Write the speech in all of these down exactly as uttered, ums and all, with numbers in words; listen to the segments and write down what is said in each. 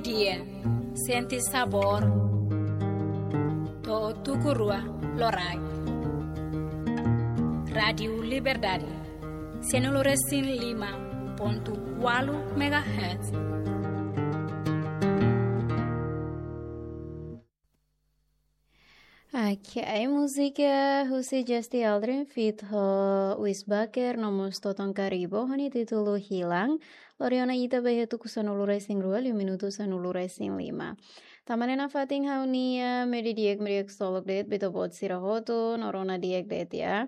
Dia, sente sabór. To'o tuku rua loraik. Rádiu Liberdade, sianulu resin lima pontu ualu megahertz. Oke, ai múzika husi Justy Aldrin feat ho Wis Baker no mós Toton Karibo ho nia títulu Hilang. Lori ona ita ba iha tuku sanulu resin rua liu minutu sanulu resin lima. Tanba ne'e nafatin ha'u-nia meiudia di'ak, meiudia di'ak ksolok de'it ba ita-boot sira hotu, no rona di'ak de'it ya.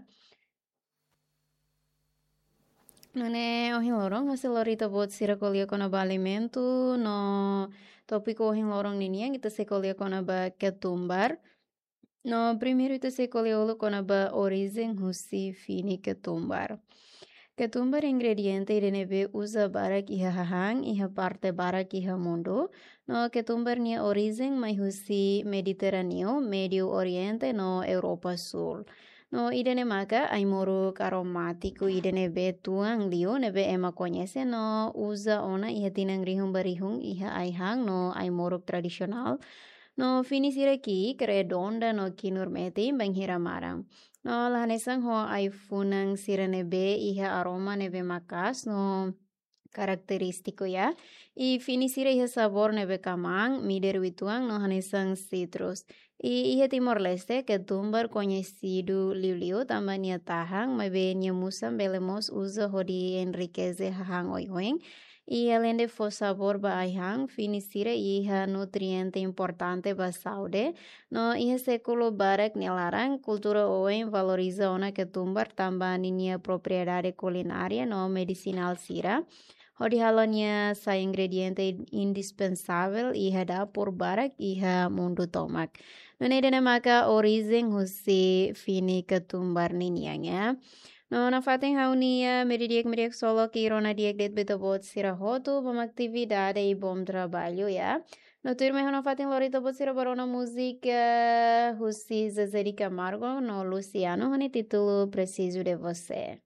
Nune'e ohin loron ha'u sei lori ita-boot sira ko'alia kona-ba alimentu, no tópiku ohin loron ninian ita sei ko'alia kona-ba ketumbar. No primeiru ita sei ko'alia uluk kona-ba orijen husi fini ketumbar. Ketumbar ingrediente ida ne'ebé uza barak iha hahán, iha parte barak iha mundu. No ketumbar nia orijen mai husi Mediterráneu, Médio Oriente no Europa Sul. No ida-ne'e maka ai-moruk aromátiku ida ne'ebé tuan liu ne'ebé ema koñese no uza ona iha tinan rihun ba rihun iha ai-han no ai-moruk tradisionál. No fini sira ki'ik, redonda no kinur metin bainhira maran. No la hanesan ho ai-funan sira ne'ebé iha aroma ne'ebé maka'as no karakterístiku ya. I fini sira iha sabór ne'ebé kmaan, midar uitoan no hanesan sitrus. I iha Timor-Leste, ketumbar koñesidu liuliu tanba nia tahan, maibé nia musan bele mós uza hodi enrikese hahán oioin. I aleinde fó sabór ba ai-han, fini sira iha nutriente importante ba saúde. No iha sékulu barak nia laran, kultura oioin valoriza ona ketumbar tanba ninia propriedade kulinária no medisinál sira, hodi halo nia sai ingrediente indispensável iha dapur barak iha mundu tomak. Nune'e ida-ne'e maka orijen husi fini ketumbar ninian ya. No nafatin ha'u-nia meiudia di'ak, meiudia di'ak ksolok i rona di'ak de'it ba ita-boot sira hotu, bom atividade i bom trabalho ya. No tuirmai ha'u nafatin lori ita-boot sira ba rona múzika husi Zezé de Camargo no Luciano ho nia títulu Preciso de Você.